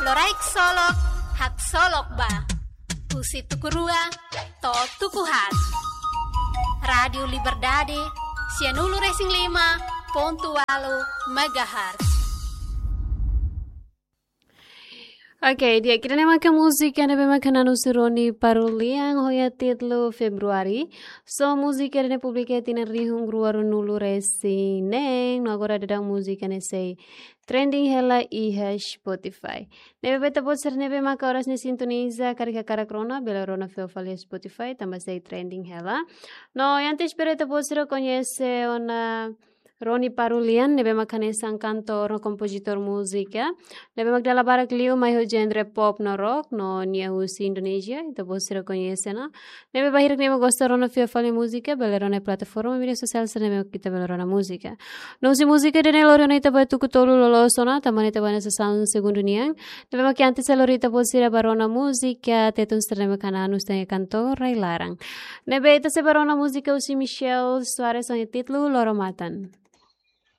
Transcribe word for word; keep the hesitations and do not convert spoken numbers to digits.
Loraik solok, haksolok ba. Husi tuku rua to'o tuku haat. Rádiu Liberdade, sianulu-resin-lima pontu ualu megahertz. Oke, di'ak, ida-ne'e maka múzika ne'ebé maka naran husi Rony Parulian, ho nia títulu Februari. So múzika ne'e publika iha tinan rihun rua ruanulu-resin-neen, no agora daudaun múzika ne'e sei trending hela iha Spotify. Ne'ebé ba ita-boot sira ne'ebé maka oras ne'e sintoniza, karik hakarak rona, bele rona fila fali iha Spotify, tanba sei trending hela. No, antes para ita-boot sira koñese ona Rony Parulian, ne'ebé maka hanesan kantór no kompozitór múzika. Ne'ebé maka dala barak liu mai ho genre pop no rock, no nia husi Indonézia, ita-boot sira koñese ona. Ne'ebé ba hirak ne'ebé gosta rona fila fali múzika, bele rona plataforma mídia sosiál sira ne'ebé ita bele rona múzika. No husi múzika ida-ne'e lori ona ita ba tuku tolu loloos ona, tanba ne'e ita ba hanesan segundu nian. Ne'ebé maka antes sei lori ita-boot sira ba rona múzika, Tetun sira ne'ebé maka naran husi ita-nia kantór rai-laran. Ne'ebé ita sei ba rona múzika husi Michel Soares ho nia títulu Loro Matan.